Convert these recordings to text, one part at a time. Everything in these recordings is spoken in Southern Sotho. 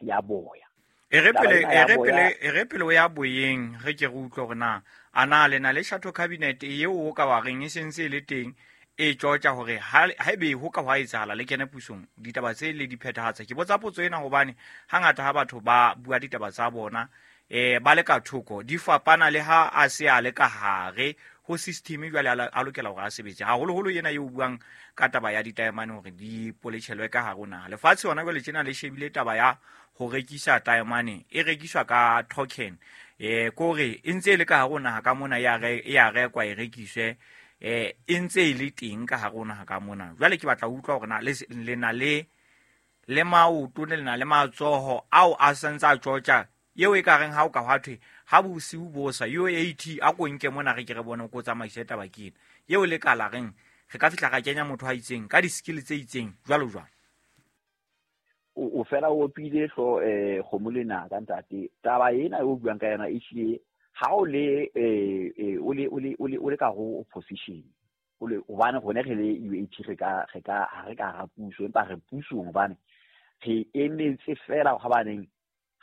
ya boya. E re pele o ya boyeng, re ke re utlwe hore na a na le na le shadow cabinet eo o ka wa reng e sentse e le teng e tjotja hore haebe ho ka hwa etsahala le kene pusong ditaba tse le di phethahatsa. Ke botsa potso ena hobane hangata ha batho ba bua ditaba tsa bona ba le ka thoko di fapana le ha a se a le ka hare ho system jwale a lokela hore a sebetse, haholoholo ena eo buang ka taba ya ditaemane hore di poletjhelwe ka hare ho naha. Lefatshe hona jwale tjena le shebile taba ya ho rekisa taemane e rekiswa ka token, kore e ntse e le ka hare ho naha ka mona, e a rekwa e rekiswe, e ntse e le teng ka hare ho naha ka mona. Jwale ke batla ho utlwa hore na le na le maoto, le na le matsoho ao a santse a tjotja eo e ka reng ha o ka hwa thwe ha bosiu bo sa UAT a ko nke mona re ke re bone ko tsamaise taba ke ena eo le ka la reng re ka fihla ra kenya motho a itseng ka di-skill tse itseng jwalo jwalo. O fela o opile hlo kgomo le naka ntate. Taba ena eo o buang ka yona e hlile ha o le o le ka ho opposition, o le hobane rone re le UAT re ka ha re ka ra puso, empa re pusong hobane re emetse fela hobaneng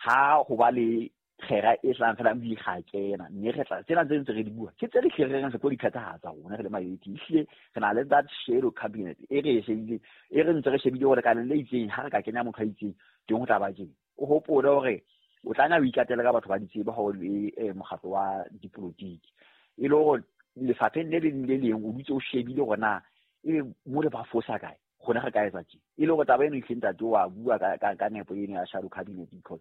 ha ho ba le kgera e tlang fela di ga kena, mme re tla tsena tse ntse re di bua ke tse re hlere re tlo di phethahatsa rona re le ma-UAT. Ehlile re na le that shadow cabinet e re e shebile, e re ntse re shebile hore lekaleng le itseng ha re ka kenya motho a itseng teng ho tla ba tjena. O hopole hore o tlameha o ikatele ka batho ba ditsebe ha o le mokgatlo wa dipolotiki, e le hore lefapheng le leng le leng o dutse o shebile hore na ebe mo le ba fosa kae, rona re ka etsa tje. E le hore taba eno ehlile ntate wa bua ka nepo eno ya shadow cabinet, because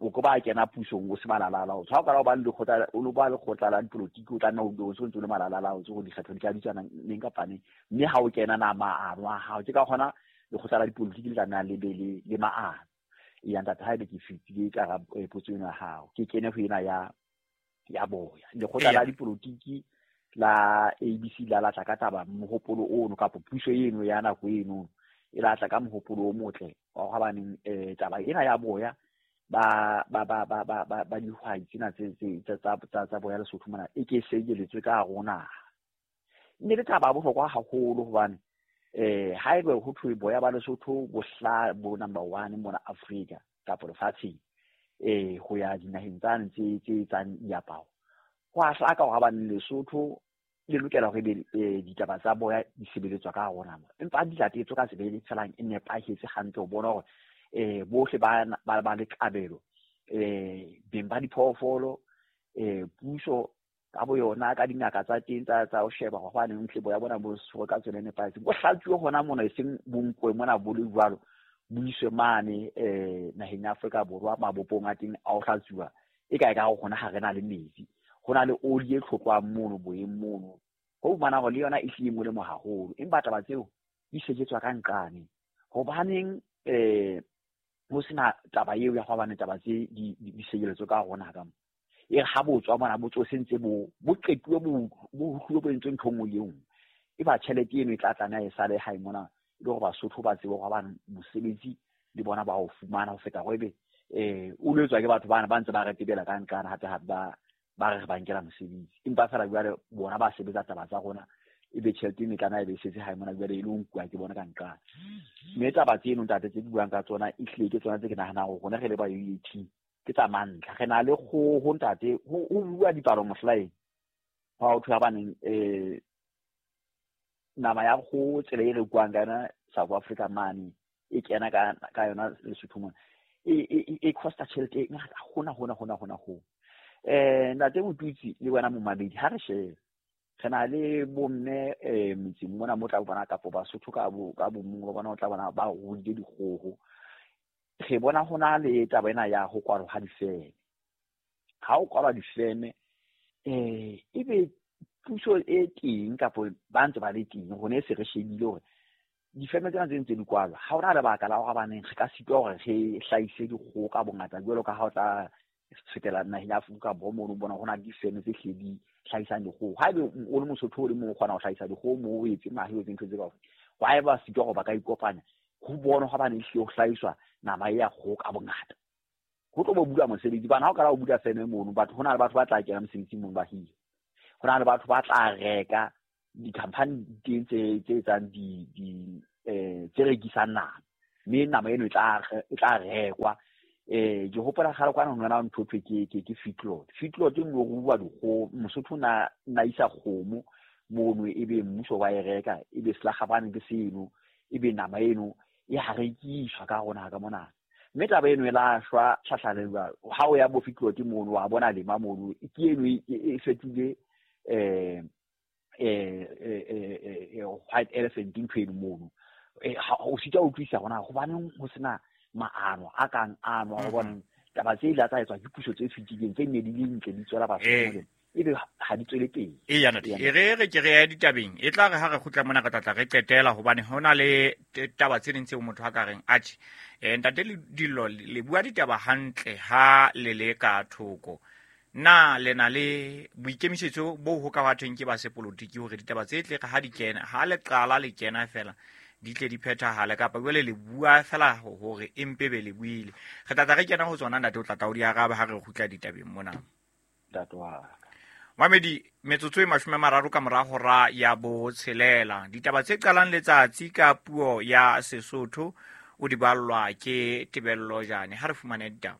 o ko ba kena pusong o se malalala, o tshwa o kala o ba le lekgotla, o lo ba lekgotla la dipolotiki, o tlameha o ntse o ntse o le malalala, o tse go dikgetho di tla bitsana neng kapa neng, mme ha o kena na maano a hao ke ka gona lekgotla la dipolotiki le tlameha le be le maano. Ya ntate, haebe ke fetile ka potso eno ya hao, ke kene ho ena ya boya. Lekgotla la dipolotiki la ABC la latla ka taba mohopolo ono kapa puso eno ya nako eno e latla ka mohopolo o motle wa hobaneng taba ena ya boya ba ba ba ba ba ba ba dihwai tsena tse tse tsa boya Lesotho mona e ke sejeletswe ka hare ho naha. Mme le taba ya bohlokwa haholo hobane haebe ho thwe boya ba Lesotho bo hla bo number 1 mona Afrika kapa lefatsheng, ho ya dinaheng tsane tse etsang diaparo, ho a hlaka hore hobane Lesotho le lokela hore ebe ditaba tsa boya di sebeletswa ka hare ho naha, empa di latetswe ka tsela e felang e nepahetse hantle ho bona hore bohle ba le kabelo, beng ba diphoofolo, puso ka bo yona ka dingaka tsa teng tsa ho sheba hore hobaneng hle boya bona bo tshwerwe ka tsela e nepahetseng, bo hlatsuwe hona mona, e seng bo nkwe mona bo le jwalo, bo iswe mane naheng ya Afrika Borwa mabopong a teng a ho hlatsuwa, e kae ka hore hona ha re na le metsi, ho na le oli e tlhokwang mono boyeng mono, ho fumana hore le yona e hlile e molemo haholo, empa taba tseo di sejetswa ka nqane. Hobaneng ho sena taba eo ya hobane taba tse di sejeletswe ka rona ka mo, e re ha bo tswa mona bo tswe sentse bo qetuwe bo utlwile bo entswe ntho e nngwe le e nngwe, e ba tjhelete eno e tla tlameha e sale hae mona, e le hore Basotho ba tsebe hore hobane mosebetsi le bona ba o fumana ho feta hore ebe o lo etswa ke batho bana ba ntse ba retebela ka nqane hape hape ba re ba nkela mosebetsi, empa feela jwale bona ba sebetsa taba tsa rona, ebe tjhelete eno e tlameha e be e setse hae mona jwale e le ho nkuwa ke bona ka nqane. Mme taba tseno ntate tse ke buang ka tsona ehlile ke tsona tse ke nahanang hore rona re le ba UAT ke tsa mantlha. Re na le kgoho ntate, ho bua dipalo mohlaeng ha ho thwe hobaneng nama ya kgoho tsela e rekuwang ka yona South Africa mane e kena ka yona Lesotho mona e costa tjhelete e ngata hona hona hona hona ho. Ntate Motutsi le wena momamedi, ha re shebe re na le bomme metseng mona mo tla bona kapo Basotho ka bomong ba bona o tla bona ba ruile dikgoho. Re bona ho na le taba ena ya ho kwalwa ha difeme. Ha ho kwalwa difeme ebe puso e teng kapo ba ntse ba le teng, rona e se re shebile hore difeme tsena tse ntse di kwalwa, ha hona lebaka la hore hobaneng re ka sitwa hore re hlahise dikgoho ka bongata jwalo ka ha o tla fetela naheng ya Afrika Borwa mono o bona ho na le difeme tse hlile di hlahisang dikgoho. Haebe o le Mosotho o le mong o kgona ho hlahisa dikgoho moo, o etse mahe, o etse ntho tse kaofela, wa eba sitwa hore ba ka ikopanya ho bona hobane ehlile ho hlahiswa nama ya kgoho ka bongata, ho tlo bo bula mosebetsi. Bana ha o kala ho bula feme mono, batho ho na le batho ba tla kena mosebetsing mono ba hire, ho na le batho ba tla reka di-company teng tse etsang tse rekisang nama. Mme nama eno e tla rekwa. Ke hopola kgale kwana ho nona ntho thwe ke feedlot. Feedlot e nngwe ruwa dikgomo, Mosotho na isa kgomo mono, ebe mmuso wa e reka, ebe selakgapane ke seno, ebe nama eno e ha rekiswa ka rona ka mona. Mme taba eno e la shwa tlhahlalelwa ha o ya bo feedlot mono, wa bona lema mono, ke eno e fetile white elephant ntho eno mono. O sita o utlwisisa hore na hobaneng ho sena maano a kang ano a bona taba tse ile tsa etswa ke puso tse fetileng tse nne di le ntle di tswela batho molemo, ebe ha di tswele pele. Eya ntate, e re ke re ya ditabeng, e tla re ha re kgutla mona re tla re qetela, hobane ho na le taba tse ding tseo motho a ka reng atjhe, ntate Dillo le bua ditaba hantle ha le le ka thoko. Na le na le boikemisetso bo ho ka bathong ke ba sepolotiki hore ditaba tse tle ha di kena, ha le qala le kena fela di tle di phethahale, kapa jwale le bua fela hore empe be le buile? Re tla re kena ho tsona ntate, o tla tla o di araba ha re kgutla ditabeng mona. Ntate wa ka. Mamedi, metsotso e 30 ka mora hora ya 6. Ditaba tse qalang letsatsi ka puo ya Sesotho o di ballwa ke Tebello Jane. Ha re fumane ditaba.